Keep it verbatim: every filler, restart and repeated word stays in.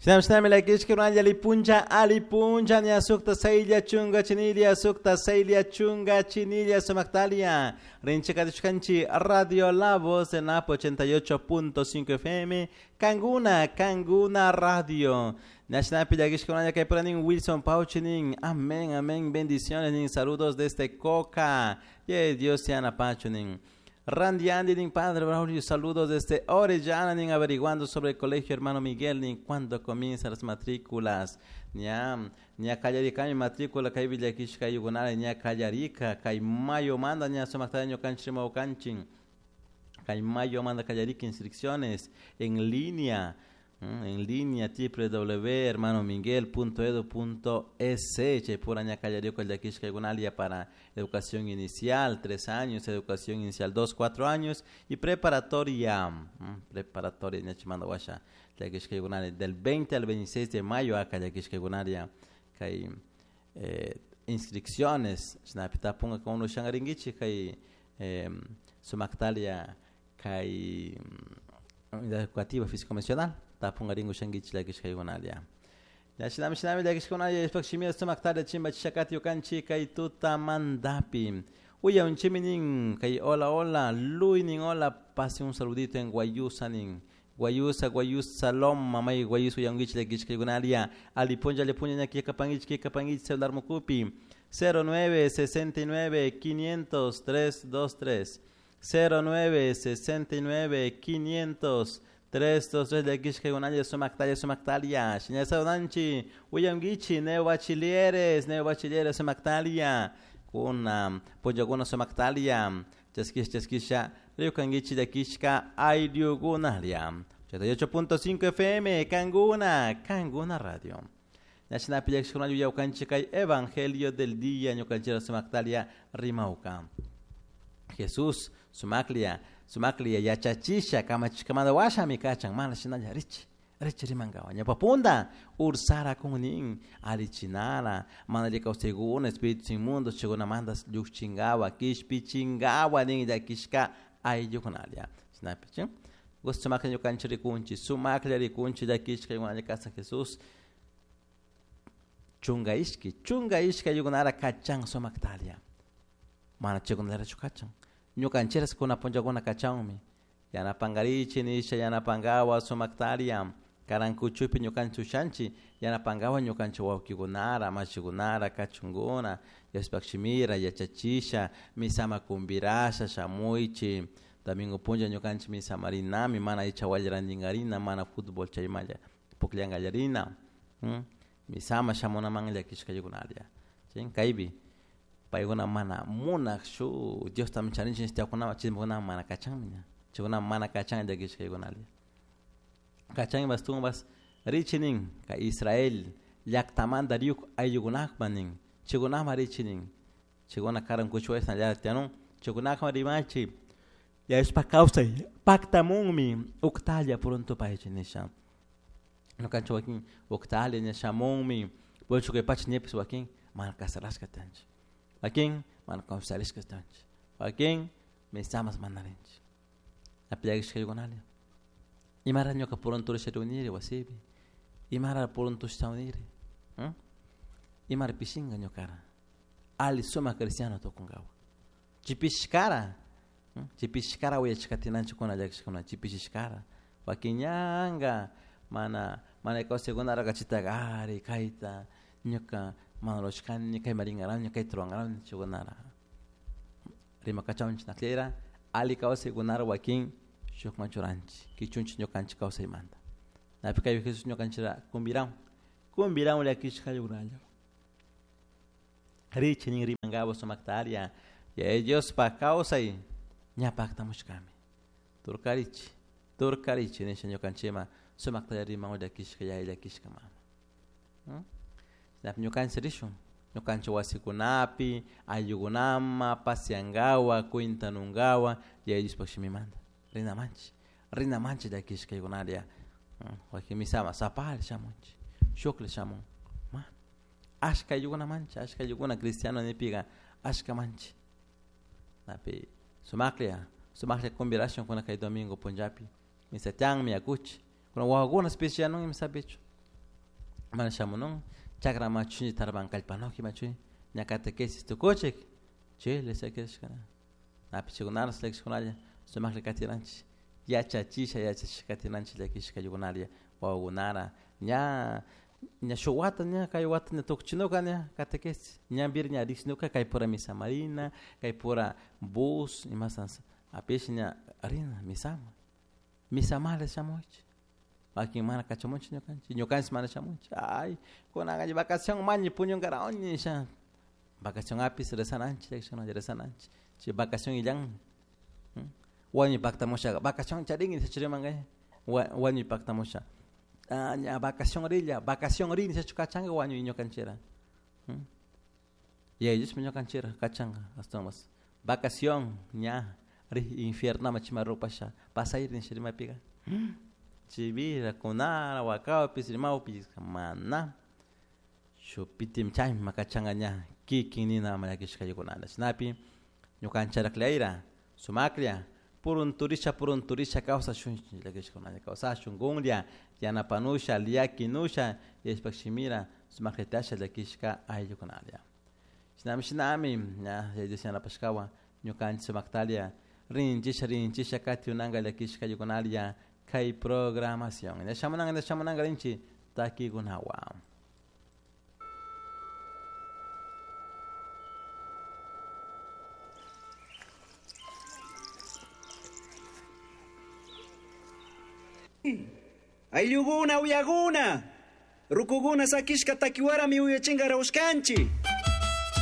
Shinami llakishka alipuncha alipuncha ña sukta saylla chunga chinilla sukta saylla chunga chinilla sumaktalia rinchikatishkanchi Radio La Voz en Apo ochenta y ocho punto cinco F M Kanguna Kanguna Radio Nashnapi llakishka kaypuranin Wilson Pauchinin amén amén bendiciones nin saludos desde Coca ye Dios sea napachunin Randy Andy nin Padre Braulio, saludos desde Orellana, nin averiguando sobre el colegio hermano Miguel, nin cuándo comienzan las matrículas, ña, ña kallarika mi matrícula, kay villakishka yugunara, ña kallarika, kay mayo manda, ña sumaktaño kanchima kanchin, kay mayo manda kallarika inscripciones en línea, en línea w w w punto hermano miguel punto edu punto es, chaypura ña kallarika llakishka yugunalia para educación inicial, tres años, educación inicial dos, cuatro años y preparatoria, preparatoria ña chimanda washa llakishka yugunalia del veinte al veintiséis de mayo acá llakishka yugunalia kay eh, inscripciones shinapita punga con uno shangaringichi kay eh, sumaktalia kay unidad educativa físico mencional tapungaringo shangichi llakishka yugunalia ya shinami shinami llakishka yugunalia ispak shimira sumaktalia chimba chishakati yukanchi kay tutamandapi uya unchiminin kay hola hola luinin hola pase un saludito en Guayusa nin Guayusa Guayusa loma may Guayusa uyangichi llakishka yugunalia alipunja alipunja ñaki kapangichi kikapangichi celular mukupi cero nueve sesenta y nueve quinientos tres dos tres cero nueve sesenta y nueve quinientos tres dos tres llakishka yugunalia sumaktalia sumaktalia shiñasaunanchi uyangichi neo bachilleres neo bachilleres sumaktalia kuna punllakuna sumaktalia chaskisha chaskisha riukangichi llakishka ayllukunalia ochenta y ocho punto cinco F M Kanguna Kanguna Radio Ñashinapi llakishkuna yuyawkanchik kay Evangelio del Día ñukanchira sumaktalia rimawka Jesús sumaklia sumaklia yachachisha kamachishkamanta washami kachan mana shinalla richi richi rimankawa ñawpapunda ursara kunnin alichinara mana alli kawsaykuna espíritus inmundos chaykunamanta llukchinkawa kishpichinkawa nin llakishka ayllukunalia shinapi chi gusto sumaklla ñukanchik rikunchik sumaklla rikunchik llakishka ayllukuna kasan Jesús chunga ishki chunga ishki ayllukunara kachan sumaktalia mana chaykunallarachu kachan ñukanchiras kuna punllakuna kachanmi yanapankarichi nisha yanapankawa sumaktalia karankuchupi ñukanchik ushanchik yanapankawa ñukanchik wawkikunara mashikunara kachunkuna Diospaq shimira yachachisha misama kumpirasha shamuychi domingo punlla ñukanchik misamarinami mana icha wallrantinkarina mana fútbol chaymalla pukllankallarina misama shamunaman llakishka ayllikunalia kaypi paykuna mana munaq shu Diosta charinchik nishtiakunama chaykunama mana kachanmi ña chaykunama mana kachan llakishka ayllikunalia kachanpas tumbas richi nin kay Israel llaktamanta riyuk ayllukunakman nin chaykunama richi nin chaykuna karan kuchuwayta tiyanun chaykunakman rimachi Diospaq kawsay paktamunmi uktalla pronto paychi nisha ñukanchik wakin uktalla ña shamunmi puchu kay pacha ñipis wakin mana casarashka tiyanchik wakin mana confesarishka tiyanchik wakin misamas mana rinchik apillakishka ayllikunalia imara ñuka pronto risha riuniri wasipi imara pronto shamuniri imara pishinka ñukara alli sumak cristiano tukunkawa chipishkara chipishkara uyachikatinanchikuna llakishkuna chipishishkara wakin ñanka mana mana kawsaykunara kachitaka ari kayta ñuka mana rurashkani kayman rinkarani kayta rurankarani chaykunara rimakachawunchik nakllera alli kawsaykunara wakin shukman churanchik kichunchik ñukanchik kawsaymanta napi kay Jesús ñukanchikra kumbirawan kumbirawan llakishka ayllukunalla richi nin rimankawa sumaktaria Yaya Diospaq kawsay ña paktamushkami turkarichi turkarichi nisha ñukanchikman sumaktalla riman llakishka yaya llakishka mama shinapi ñukanchik rishun ñukanchik wasikunapi ayllukunama pasiankawa cuentanunkawa Yaya Diospaq shimimanta rinamanchik rinamanchik llakishka ayllukunaria wakin misama sapalla shamunchik shuklla shamun ma ashka ayllukunamanchik ashka ayllukuna cristiano nipika ashkamanchik napi sumaklla sumaklla kumbirashun kuna kay domingo punllapi misatianmi yakuchi kuna wawakuna especialnon misapichu Mana shamunun chakra machu tarban kallpanoki machu ña catequesis tukuchik chile sakishkana apichikunara llakishkunalla sumaklla katinanchik yachachisha yachachisha katinanchik llakishka ayllukuna wawakunara ña ña shuk wata ña kay wata ña tukuchinuka ña catequesis ñanpiri ña riksinuka kaypura misa marina kaypura bus imasa apish ña rina misama misamala shamunchik wakin mana kachamunchik ñukanchik ñukanchik mana shamunchik ay kunanka vacación mañi puñunkarawni nisha vacación apis rezananchik llakishkunalla rezananchik chay vacación illanmi wañuy paktamusha vacación charinki nishachu rimanka wañuy paktamusha ah ña vacación rilla vacación ri nishachu kachanka wañuy ñukanchira yaya Diosmi ñukanchira kachanka ashtawanmas vacación ña ri infiernoman chayman rupasha pasayri nisha rimapika chivira kunara wakawpis rimawpis mana shuk chayma kachanka ña kikin nina ama llakishka ayllukuna chashnapi ñukanchik sumaklla purunturisha purunturisha kawsashunchik llakishkunalla kawsashun kunlla yanapanusha llakinusha yashpak shimira sumakllatasha llakishka ayllukunalla shinami shinami ña Yaya Dios yanapashkawan ñukanchik sumaktalla rinchisha rinchisha katiunanka llakishka ayllukunalla kay programación ña shamunanka ña shamunanka rinchik takikunawan. Ayllukuna uyakuna, rukukuna sakishka takiwarami uyachinkarawashkanchik.